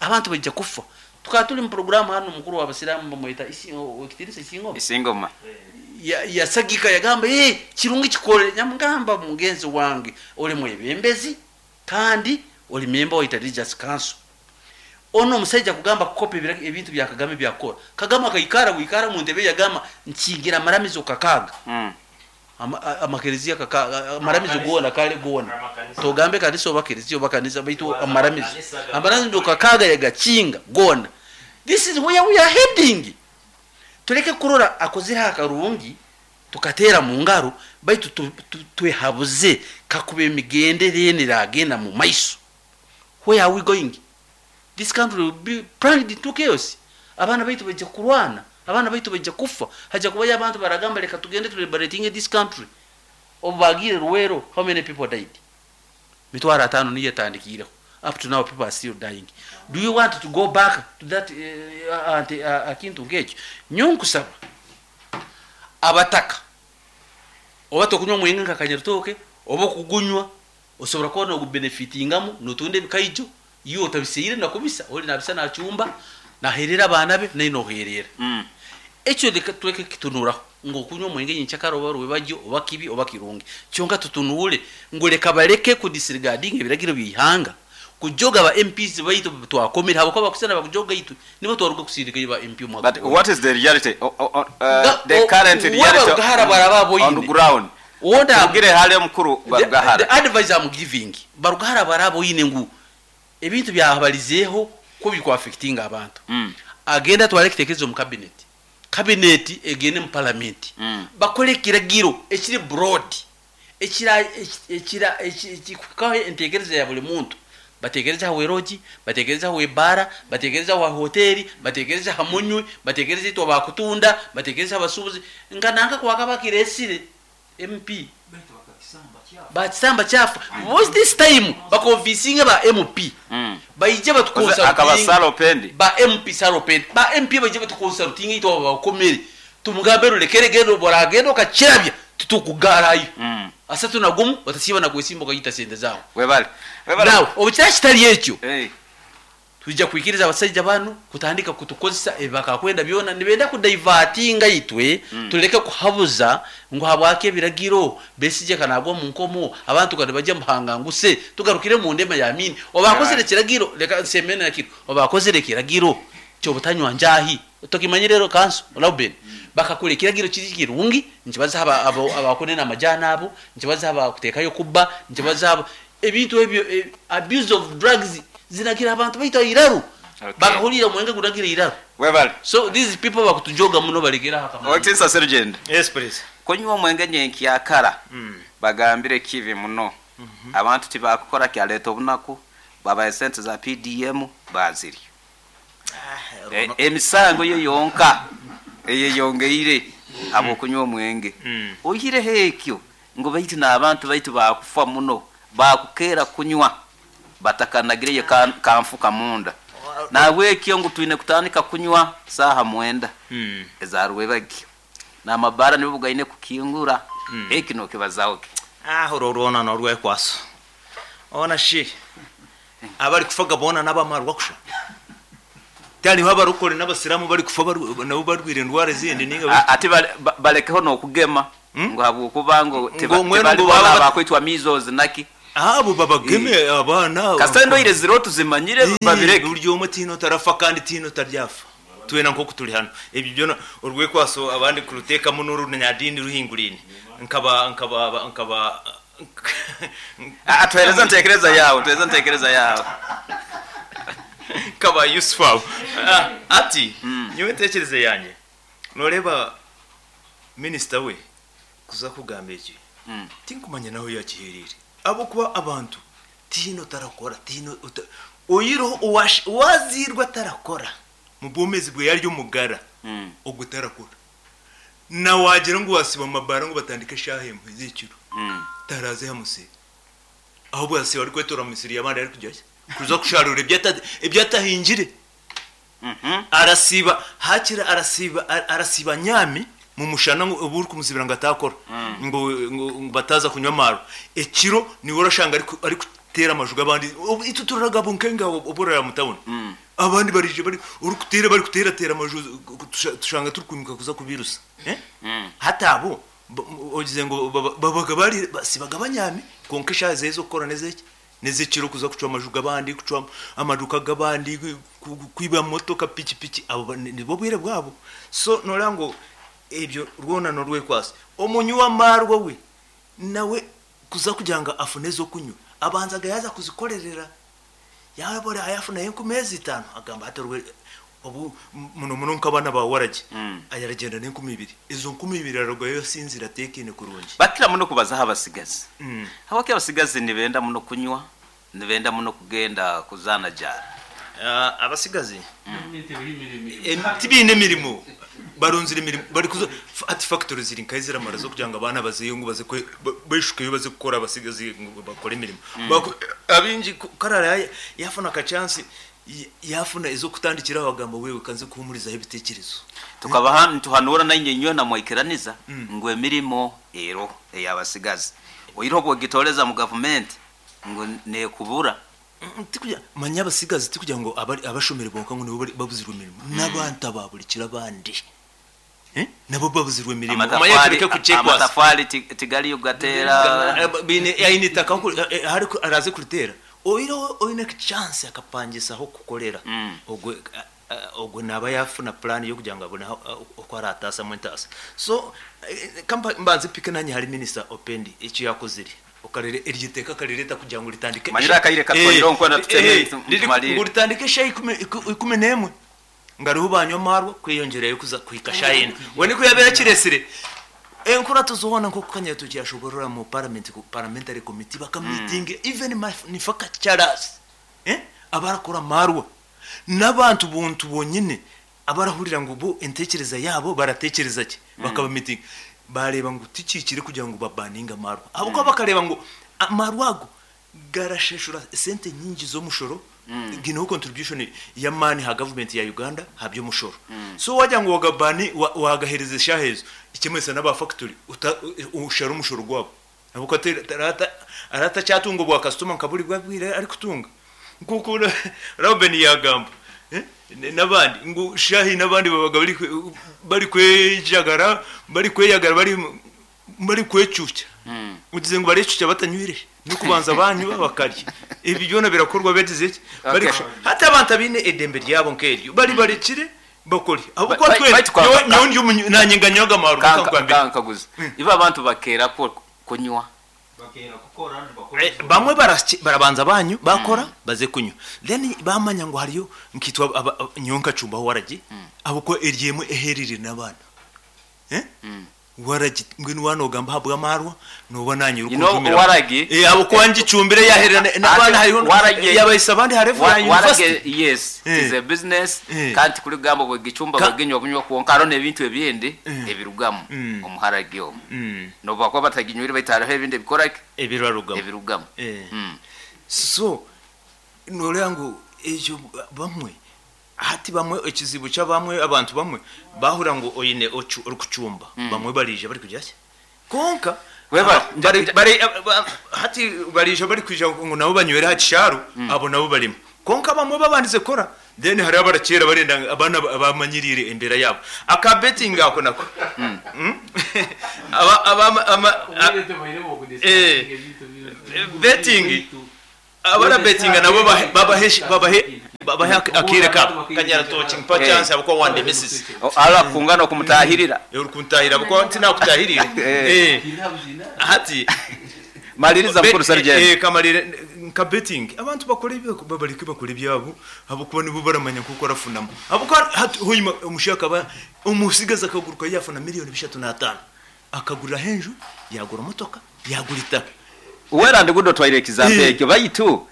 abantu bajja kufa. Tukaba tuli mu programu hano, mukuru w'abasiraamu bamweta ekitinisa Isingoma. Isingoma. Yasagika yagamba, hey, kirungi kikole. Nyamugamba, mugenzi wange, oli mwebembezi kandi oli member wa Religious Council. Ono omusajja kugamba kukopa ebintu bya Kagame byakora. Kagame akaikara wikara mu ntebe yagamba nkingira amaramizo kakaga. Amakereziya kakaga, amaramizo gona kale gona. Togambe kanisa oba kereziya oba kanisa, baitu amaramizo. Amaramizo kakaga yagakinga gona. This is where we are heading. Tuleke kurora akozera akarungi tukatera mu ngaro, baitu twehabuze kakuba emigendere niragenda mu maiso. Where are we going? This country will be plunged into chaos. Abaana baitu bajja kurwana, abaana baitu bajja kufa, hajja kubayo abantu baragamba leka tugende tu liberating this country. Obu bagire Luwero, how many people died? Mitwaro 5 niyo etandikiireho. Up to now people are still dying. Do you want to go back to that akintu nk'ekyo? Nyo nkusaba abataka oba tokunywa omwenge nka Kanyarutoke oba okugunywa osobola kuba nogubenefitingamu notunda ebikaijo, iwe otabiseire nakubisa oli nabisa nachumba naherera abaana be naye noherera. Ekyo leka tuleke kitunuraho ng'okunywa omwenge nyenkyakara oba rwebagyo oba kibi oba kirungi, kyonka tutunule ngu leka baleke kudisregarding ebiragiro by'ihanga kujoga ba MPs baitu twakomera habwokuba bakusana bakujoga itwe nibo twaruga kusindika ba MP omwaka. But what is the reality? The current reality Barugahara baraba boyine on ground. Tugire hali omukuru Barugahara. The advice I'm giving Barugahara baraba boyine ngu ebintu byahabalizeho ko bikwa affecting abantu. Agenda twale kitekerezo mu cabinet. Cabinet egende mu parliament. Bakole kiragiro ekiri broad. Ekira ekira ekikukaho entekereza ya buli muntu. Batekereza ha weroji, batekereza ha webara, batekereza ha hoteli, batekereza ha munywi, batekereza itwa bakutunda, batekereza abasubuzi. Nkananga kwaka bakiresire MP. Bakisamba chafu. Was this time bakonvincinga ba MP. Baije batukonsulting. Akabasalo pendi. Ba MP salo pendi. Ba MP baije batukonsulting itwa bakomere. Tumugambe rulekere gendo boragendo kachirabya tutukugarayo. Asatu na gumu batasiba na kwesimba kayita sente zao. Webale. Webale. Now obukira kitali ekyo. Tujja kwikiriza abasajja bano kutandika kutukozesa ebakakwenda byona nibenda kudivertinga itwe. Tuleke kuhabuza ngo habwake ebiragiro besije kanagwa mu nkomo abantu kandi bajya muhanga nguse tugarukire mu ndema ya mini obakozere kiragiro leka nsemene nakiro obakozere kiragiro cyo butanywa njahi tokimanyire rero kanso Lauben bakakule kiragiro kiri kirungi nkibaza abakonena amajana abo nkibaza abakutekayo kubba nkibaza ebintu ebyo abuse of drugs zinagira abantu baita iraru. Bakahulira mwenge kunagira iraru. Webale. So these people bakutujoga muno balegera haka. Otinsa sergeant. Yes please. Kunywa omwenge nyenkyakara. Bagambire kivi muno. Abantu tibakukora kyaleta obunaku babaye sente za PDM baziri. Emisango yo yonka eyeyongeire abo kunywa omwenge. Oyire hekyo ngo baitu n'abantu baitu bakufa muno bakukera kunywa batakanagire kamfuka munda. Nawe ekyo ngu twine kutandika kunywa saha 9 ezarwebagyo. Na mabara nibo bugaine kukingura. Eki no kibazaho. Urorona no rwekwaso. Ona shi. Abari kufaga boona n'abamarwa kusha. Tihariho abarokore n'abasiramu bari kufa nabo barwire endwara ezindi ninga Ate balekeho n'okugema ngu habwokuba ngu Ngu mbwenu tebali ngu boona baba abakwitwa measles naki. Abo babageme abaana. Kasita endwaire ziriho tuzimanyire, babireke. Buri omwe tihaine otarafa kandi tihaine otaryafa. Twena nk'oku turi hanu. Ebyo byona orwekwaso abandi kuruteekamu n'orunyadiini ruhinguraine. Nkaba nkaba nkaba Tuhereze ntekereza yawe, tuhereze ntekereza yawe. Nkaba Yusufu abo. Ati nyowe entekereza yangye noreeba minisita we kuza kugamba eki tinkumanya nahu yakihereire ahabw'okuba abantu tihaine otarakora tihaine ota oyireho owazairwe atarakora mu bwomeezi bwe ari omugara ogwo tarakora na wagira ngu wasiiba omu mabaara ngu batandike eshaaha emwe z'ekiro taraaze aha musiri ahobwe asiiba arikwetoora mu misiri y'abandi arikugira ki kuza kusharuura ebi atahingire. Arasiiba haakiri arasiiba arasiiba anyaami mu mushana ngu obu orikumuzibira ngu ataakora ngu ngu bataaza kunywa amaarwa. Ekiro niiwe orashanga ariku arikuteera amaju g'abandi obu itwe turaragaba nkenga obu oraraaba mu tawuni. Abandi baraija bari orikuteera barikuteerateera amaju tushanga turikwimuka kuza kubiirusa. Hati abo ogize ngu babaga bari basiibaga banyaami kwonka eshaaha ze ez'okukora n'ez'eki? N'ez'ekiro kuza kucwa amaju g'abandi, kucwa amaduuka g'abandi, kwiba motoka, pikipiki, abo nibwo bwire bwabo. So nooreeba ngu ebyo rwona n'orwekwatso. Omunywi w'amaarwa we nawe kuza kugira ngu afune ez'okunywa, abanzaga yaaza kuzikorerera. Yaaba yaafunayo enkumi ezi itaano, agamba hati obu muno muno nk'abaana ba waragi, aragyenda n'enkumi ibiri. Ezo nkumi ibiri ararugayo asinzire ateekaine kurungi. Bakira muno kubazaho abasigazi. Habwaki abasigazi nibenda muno kunywa, nibenda muno kugenda kuzaana jaara? Abasigazi tibaine mirimo, barunzire emirimo barikuza hati factory ziri nkahi ziramara z'okugira ngu abaana bazeyo ngu baze beshukeyo baze kukora abasigazi ngu bakore emirimo. Abaingi ku araabe yaafuna aka chance yaafuna ez'okutandikiraho agamba wewe kanze kuhuumurizaho ebiteekyerezo. Tukabaha nituhanuura nainye inywena mwaikiraniza ngu emirimo eroho ey'abasigazi. Oihireho obu ogitoreza mu gavumenti ngu nekubura. Tikugira manya abasigazi tikugira ngu abashomire bonka ngu nibo babuzirwe emirimo n'abantu aba buri kiro abandi nabo babuzirwe emirimo. Omanye tureke kukyekwasa. Amatafari tigariyo kugateera. Baine aine itaka ahu araaze kuriteera oihireho oine chance akapangisa ah'okukorera ogwe ogwe naaba yaafuna plan y'okugira ngu abone oku araataasamu entaasa. So ka mbanze mpike naanye ahari minisita Opendi eki yaakozire okareba eryo iteeka akarireeta kugira ngu ritandike Manyire akaire katwaire nkwenda tuteme tumalire. Ngu ritandike eshaaha ikumi n'emwe ngu ariho banywa amaarwa kweyongyerayo kuza kuhika shaaha ina. We nikwo yaabaire akireetsire. Enkurato zoona nk'oku Kanyatoki yaashoboorora mu paramenti parliamentary committee bakamiitinga even manufacturers abarakora amaarwa n'abantu buntu bonyine abarahurira ngu bo entekereza yaabo baratekereza ki bakabamiitinga baareeba ngu tikihikire kugira ngu babaninge amaarwa ahabw'okuba bakareeba ngu amaarwa ago garashashura esente nyingi z'omushoro gineho contribution y'amaani aha gavumenti ya Uganda aha by'omushoro so wagira ngu wagabani wagahereza eshaaha ezo ekimanyisa n'aba factory oshare omushoro gwabo ahabw'okuba araba atakyatunga obwa kasitoma nka buri bwabwire arikutunga nk'oku Reuben yagamba n'abandi ngu shaaha n'abandi babaga barikwejagara barikweyagara barikwecuukya ogize ngu barecuukya batanywire n'okubanza banywa bakarya ebi byona birakorwa bagize ki hati abantu abaine edembe ryabo nk'eryo bari barekire bakore ahabw'okuba twena nyowe ndi omunywi nanye nganywaga amaarwa Kanka nkaguze ibo abantu bakeera kunywa. Bamwe barabanza banywa bakora baze kunywa then bamanya ngu hariyo nkaitwe nyowe nkacumbaho waragi ahabw'okuba eri emwe eherire n'abaana waragi mbwenu waaba nogamba ahabw'amaarwa nooba naanye You know, orikunjumiraho waragi ahabw'okuba ngicumbire yaherera n'abaana hariho waragi yabahisya abandi ha level ya waragi university. yes it is a business kandi tikurigamba bwegicumba bweginywa bunywa kwonka hariho n'ebintu ebindi ebirugamu omu haragi omu n'obu bakuba bataginywire baitu hariho ebindi ebikoraki ebirarugamu ebirugamu. So noreeba ngu ekyo bamwe hati bamwe ekizibu ky'abamwe abantu bamwe bahurira ngu oine orikucumba bamwe baraija barikugira ki kwonka Hati barija bari kwija ngo nabo banywere ha kisharu, abo nabo barimo konka bamwe babandize kora, then hari abarakera barenda abana bamanyirire imbere yabo aka betting ako nako. Aba aba ama betting, abara betting nabo babahe babahe akire ka kanyara tochi mpa chance abo wande misses ala kungana kumutahirira. Uri kuntahira kuko ntinakutahirire. Hati maliriza mukuru sergeant. Kamarire nka betting abantu bakora ibyo babarike bakora ibyabo abo kuba nibo baramanya kuko arafunamo abo ko huyima umushaka ba umusigaza akaguruka yafuna miliyoni 35 akagura henju, yagura motoka, yagura itaka. Uwera ndigudo twaire example ekyo bayitu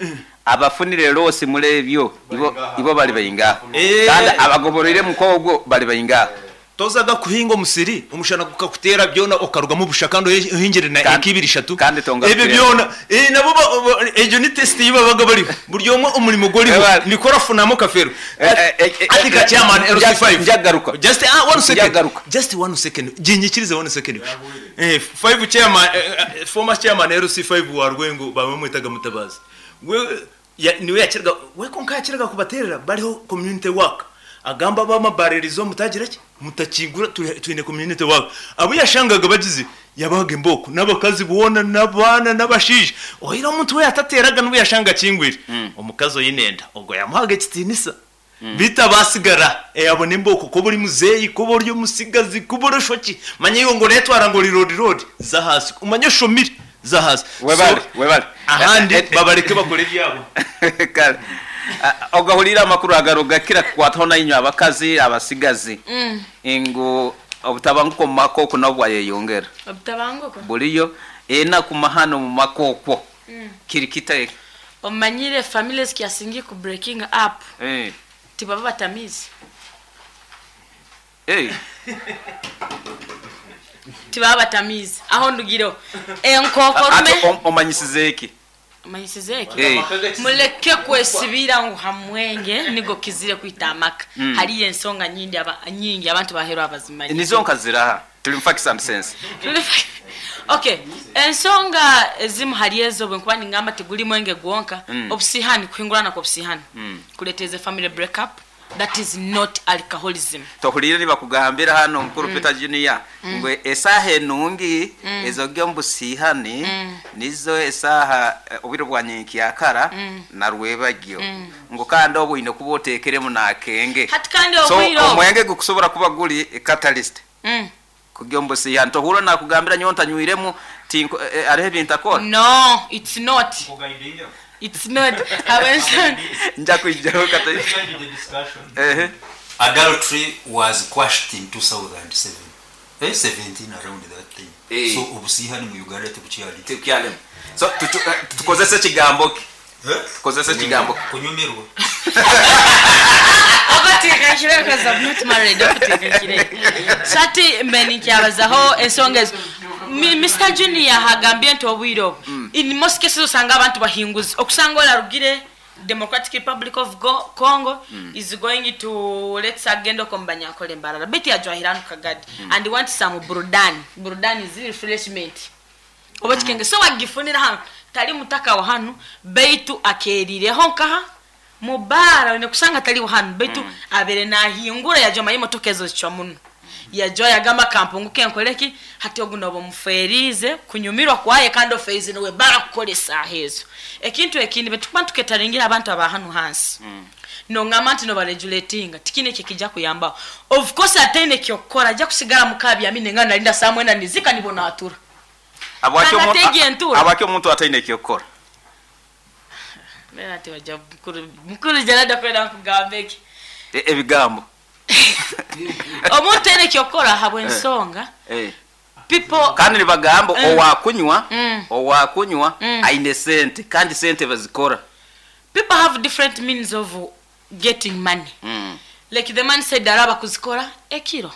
abafunire losi mulebyo ibo bali bayinga kandi abagoborere mukogwo bali bayinga. Tozaga kuhinga omusiri omushana gukakutera byona okaruga mu bushaka ndo uhingire na ekibiri shatu ebyo byona nabo ejo ni test yibabaga bari buryo umwe umurimo goriho nikora funamo kafero atika chairman LC5 njagaruka just 1 second, just 1 second ginyikirize 1 second. 5 chairman, former chairman LC5 wa Rwengo bamwitaga Mutabazi, we niwe yakirga we konka yakirga kubaterera bariho community work agamba bamabarerizo mutagira ki mutakingura twine community work abo yashangaga bagize yabaga imboko n'abakazi buona n'abana n'abashije ohira omuntu we yatateraga n'ubu yashanga kingwire omukazi oyinenda ubwo yamuhaga ekitinisa bita basigara abona imboko ko buri muzeyi ko buri musigazi ko buri shoki manye yo ngo netwara ngo rirodi rodi za hasi umanye shomire za hasi. Webale webale ahandi babareke bakore ibyabo. Kale ogahulira amakuru agaruga kira kwatona inywa abakazi abasigazi ingo obutabanguko mu makoko nabwo yeyongera obutabanguko buliyo ena kumahano mu makoko kiri kitaye omanyire families kiasingi ku breaking up tibaba batamizi tibaba batamizi aho ndugiro enkoko rume omanyisize iki manyisizeke muleke kwesibira ngo hamwenge nigo kizire kwitamaka. Hari ensonga nyingi aba nyingi abantu bahero abazimanyi nizo nkaziraha tuli mfaki some sense. Okay, ensonga ezimu hari ezo bwe nkuba ningamba tiguli mwenge gwonka obusihani kuhingurana kwa obusihani kuleteze family break up. That is not alcoholism. Tohulire nibakugambira hano mukuru Peter Junior ngwe esaha enungi ezo gyombushihani nizo esaha obiro bwa yakara na rwebagyo ngo kandi obuine kubotekeremu nakenge. Hati kandi obwiro so omwenge gukusobora kuba guli catalyst kugyombushihani tohura nakugambira nyonta nywiremu tinko arehe bintakora. No, it's not. It's not. Nja kata. Adultery was quashed in 2007. 17 around that time. So obusihani mu Uganda tukukyali. Tukyali. So tukozese kigambo ki? Tukozese kigambo kunyumirwa. Abati kashire because I'm not married. Abati kashire. Sati mbeni kyabazaho ensonga ezo. Mr. Junior hagambye nti obwiro. In most cases osanga abantu bahinguzi okusanga olarugire Democratic Republic of Congo is going to let's agenda kombanya kole mbarara beti ajwahiranu Kagadi and want some burudani. Burudani is refreshment. Oba kikenge so wagifunira hano tali mutaka wa hano beitu akerireho nkaha mubara ne kusanga tali hano beitu abere nahingura yajoma imotoka ezo zicwa muno yajoya yagamba kampunguke nkoleki hati ogunobo muferize kunyumirwa kwaye kandi ofeize nowe bara kukolesa hezo ekintu ekindi betukuba tuketaringira abantu aba hano hansi no ngamba nti no baregulatinga tikine kikija kuyamba of course atene kyokora ajja kusigala mukabya mine ngana nalinda samwena nizika nibona atura abakyo omuntu atene kyokora mera ati waja mukuru jalada kwenda kugambeki ebigambo omuntu ene kyokora habwe ensonga people kandi nibagambo owakunywa aine sente kandi sente bazikora. People have different means of getting money. Like the man said araba kuzikora ekiro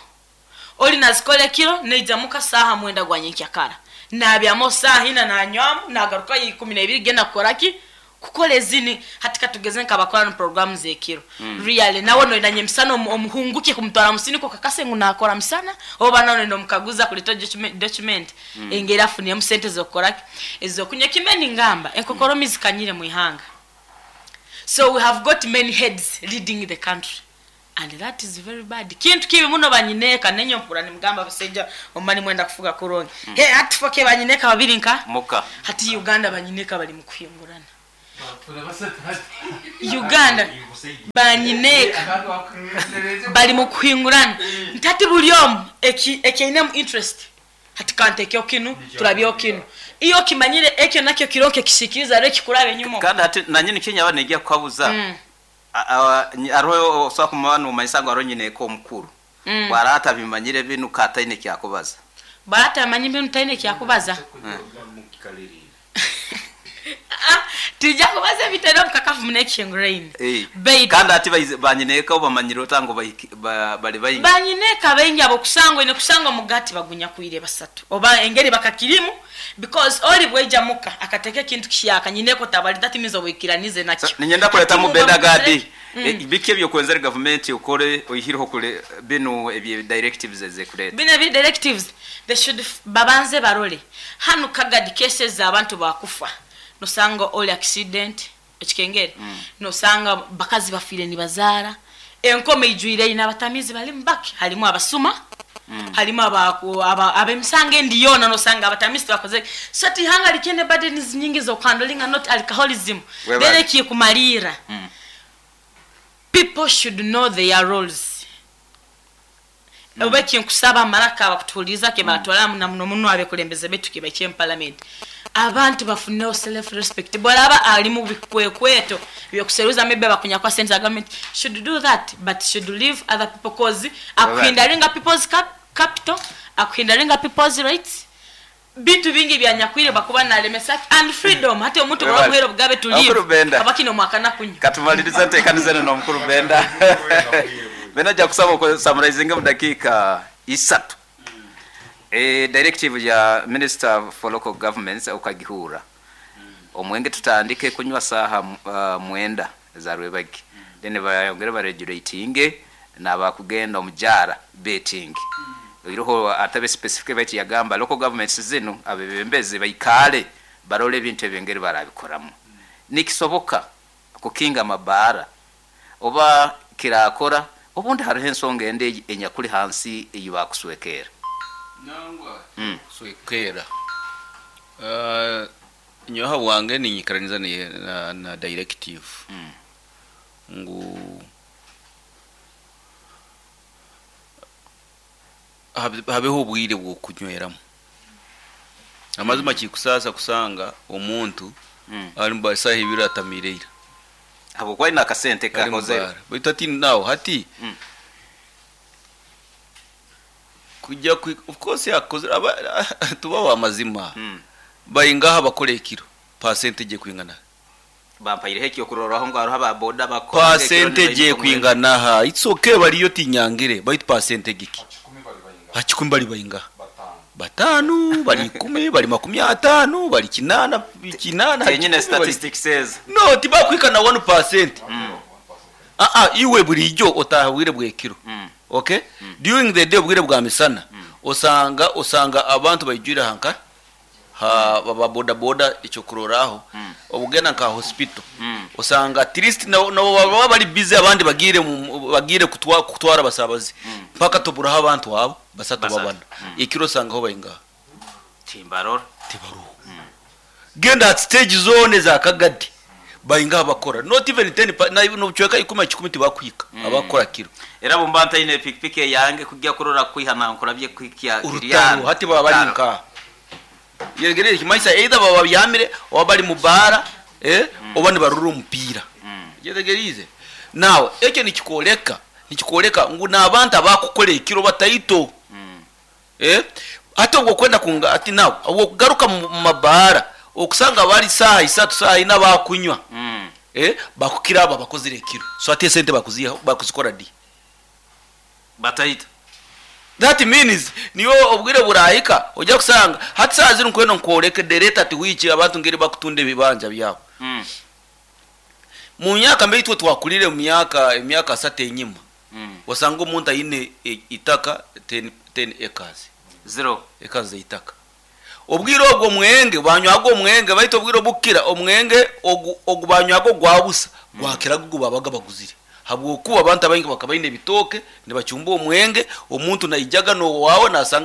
oli nazikora ekiro neijamuka saha mwenda gwa nyenkyakara nabyamo saha ina nanywamu nagaruka 12 genda kukoraki Kukora ezini hati katugeze nkabakora no programu zekiro. Really nawe noinanye emisana omuhunguke kumutwara musiniko kakase ngu nakora misana oba nawe nomukaguza kuleta document engeri afuniyemu sente zokukora ezokunywa kimeni ngamba enkokoromi zikanyire mu ihanga. So we have got many heads leading the country and that is very bad. Kintu kibi muno banyineka nenyo mpura nimugamba basajja omani mwenda kufuga kurongi. He hati foke banyineka babiri nka muka hati Uganda banyineka bali mu kuhingurana. Uganda banyineka bali mu kuhingurana ntati buli omu ekiinemu interest hati kante kinu turabyo kinu iyo kimanyire ekyo nakyo kironke kishikiriza rero kikurabe nyuma kandi hati nanyini Kenya banegya kukabuza aroho oswa kumana umayisango aro nyine ko mukuru barata bimanyire binu kataine kyakubaza barata bimanyire binu taine kyakubaza tijja kubaza bitero mukakafu munekishenguraini kandi ati banyineka obamanyire otango bali bayingi banyineka baingi abo kusangwa ine kusangwa mugati bagunya kuire basatu oba engeri bakakirimu because oli bweja muka akateke kintu kishaka nyineko tabali that means obwikiranize nakyo so, ninyenda kuleta mu benda gadi biki ebyo kwenzera government ukore oyihireho kule bino ebye directives ezekuleta bino ebye directives they should babanze barole hanu Kagadi cases abantu bakufa nosanga all accident ekikengere nosanga bakazi bafire ni bazara enkome ijuire ina abatamizi bali mbaki halimu abasuma halimu abemisanga endiyona nosanga abatamizi bakoze so ti hanga likende burdens nyingi zo handling not alcoholism bere kikumalira people should know their roles. Obeki nkusaba maraka abakutuliza ke batwala na muno muno abekulembeze betu ke bache parliament abantu bafuneo self respect bolaba ali mu bikwekweto byokuseruza maybe bakunya kwa central government should do that but should leave other people cause akuhindaringa people's capital akuhindaringa people's rights bitu bingi byanyakwire bakuba nalemesa and freedom hati omuntu bwabuhero bugabe tulive abakino mwakana kunywa katumaliriza ntekanizana no mukuru Benda Benda ja kusaba ko summarizing mu dakika 3 directive ya Minister for Local Governments ukagihura omwenge tutandike kunywa saha mwenda za rwebagi then bayongere ba regulating nabakugenda omujara betting iroho atabe specific bati yagamba local governments zino abebembeze bayikale barole ebintu ebengeri barabikoramu nikisoboka kukinga mabara oba kirakora obundi hariho ensonga ende enyakuli hansi eyibakuswekera nangwa swekera nyoha wange ninyikaraniza na directive ngu habeho obwire bwo kunyweramu amazima kikusasa kusanga omuntu ari mu basaha ibiri atamireira abo kwali nakasente kakoze baitu ati nawo hati kujya of course yakoze tuba wa mazima bayingaha bakora ekiro percentage kwingana bampayire hekyo kuroraho ngo aruha ba boda bakora percentage kwingana ha it's okay bariyo tinyangire baitu percentage ki hakikumi bali bayingaha batanu bali 10 bali 50 bali 8 kenyine statistics says no tibakwikana 1% iwe bulijjo otahawire bwekiro okay during the day bwire bwa misana osanga abantu bayijura hanka ha baba boda boda icho kuroraho obugenda nka hospital osanga at least no baba bali busy abandi bagire kutwara basabazi mpaka tuburaho abantu abo basatu babana ikiro sanga ho bayinga timbarora tibaruho genda at stage zone za Kagadi bayinga bakora not even 10 na no chweka ikuma 10 tibakwika abakora kiro era bumbanta ine pikipiki yange kujya kurora kwihana nkurabye kwikia urutaro hati baba barinka yegereye kimaisa either baba byamire oba bali mubara oba nibarura umupira yetegerize nawe ekyo nikikoleka ngu nabantu abakukora ekiro bataito ate ubwo kwenda kunga ati nawe ubwo kugaruka mu mabara okusanga bali saha isatu saha ina bakunywa bakukira aba bakozire ekiro so ate sente bakuziha bakuzikora di bataita that means niyo obwire burahika ojya kusanga hati saa zino nkweno nkoreke dereta ati wichi abantu ngeri bakutunde bibanja byabo Mu myaka mbe itwe twakulire mu myaka emyaka 3 enyima, wasanga omuntu aine itaka 10 acres, zero acres zeitaka. Obwire obwo omwenge banywaga omwenge, baitu obwire obukira omwenge ogu banywaga ogwabusa gwakiraga ogu babaga baguzire, habwokuba abantu abaingi bakaba baine ebitooke nibacumba omwenge. Omuntu naijaga n'owaawe nasanga.